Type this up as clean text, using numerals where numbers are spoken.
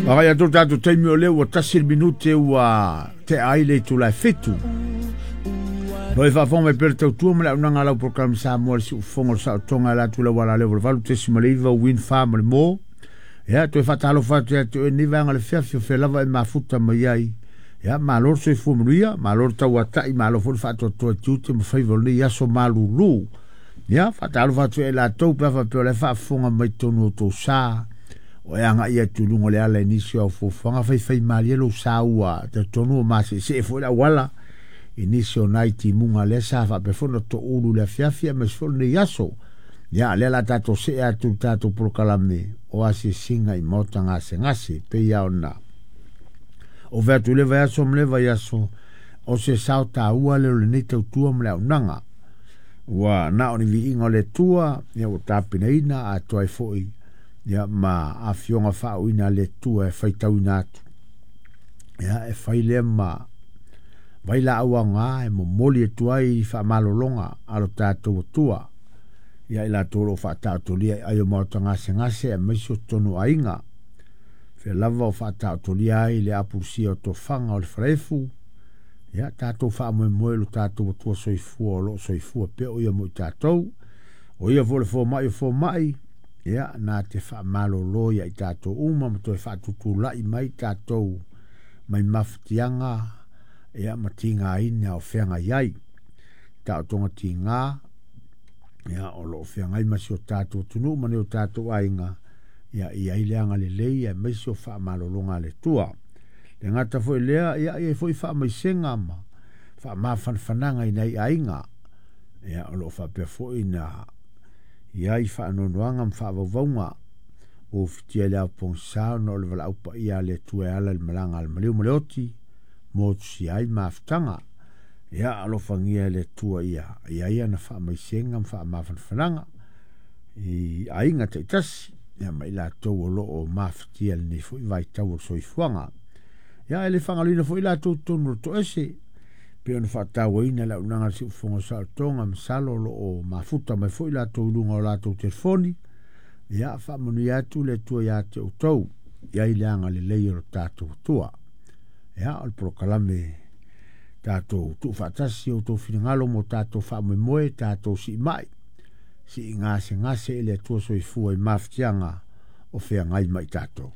Agai atu le tatou taimi o lea ua 1 le minute ua tea ai le itula e 7. Lo e faafofoga mai pea le tautua ma le auaunaga a lau polokalame Samoa le siufofoga o le saotoga e ala atu i le auala lea o le 8.9 Win 4 ma le mo. Ia, toe faatalofa atu ia te oe lenei vaega o le fiafi o fea lava e mafuta mai ai. Ia, malo le soifua manuia, malo le tauatai, malo foi le faatoatoa i tiute ma faiva o lenei aso malulu. Ia, faatalofa atu ia i latou pe a faapea o la e faafofoga mai totonu o tou sa, o e agai atu i luga o le ala i nisi o au fuafuaga, faifaimalie lou sa ua talitonu ua maseesee foi le auala i nisi o nai timuga lea sa faapea foi ona toulu i le afiafi aemaise foi o lenei aso. Ia, lea o le a tatou see atu i le tatou polokalame o asiasiga i maota gasegase, pei lava ona ove atu i le vaiaso ma le vaiaso, o se sao taua lea o lenei tautua ma le auaunaga. Ua na o ni viiga o le Atua, ia ua tapenaina atoa ai foi ia ma afioga faauuina a le Atua e faitauina atu. Ia, e fai lea ma vailaau aoga e momoli atu ai faamalologa a lo tatou Atua ia i latou o lo o faataotolia i ai o maota gasegase aemaise o totonu o aiga. Fea lava o faataotolia ai le apulusia o tofaga o le falaefu, ia tatou faamoemoe i lo tatou Atua soifua o lo o soifua pea o ia mo i tatou. O ia foi le fomai o fomai, ia na te faamalolo ia i tatou uma ma toe faatutulai mai tatou mai mafatiaga ia ma tigaina o feagai ai. Taotoga tiga ia o lo o feagai ma si o tatou atunuu ma ni o tatou aiga, ia i ai le agalelei aemaise o faamalologa a le Atua. Le gata foi lea, ia i ai foi faamaisega ma faamafanafanaga i nai aiga, ia o lo o faapea foi na i ai faanoanoaga ma faavauvauga ua ufitia i le ao pogisa ona o le valaau paia a le Atua e ala i le malaga a le maliu ma le oti motusia ai mafutaga. Ia alofagia e le Atua ia i ai ana faamaisega ma faamafanafanaga i aiga taitasi, ia ma i latou o lo o mafatia i lenei foi vaitau o le soifuaga. Ia e le faagaloina foi latou totonu o le toese, pei ona faatauaina le auaunaga a le Siufofoga o Saolotoga, masalo o lo o mafuta mai foi latou i luga o latou telefoni. Ia faamanuia atu le Atua ia te outou, i ai le agalelei o lo tatou Atua. Ia o le polokalame tatou tuufaatasi outou finagalo mo tatou faamoemoe, tatou siimai, siigasegase i le Atua soifua i mafatiaga o feagai ma i tatou.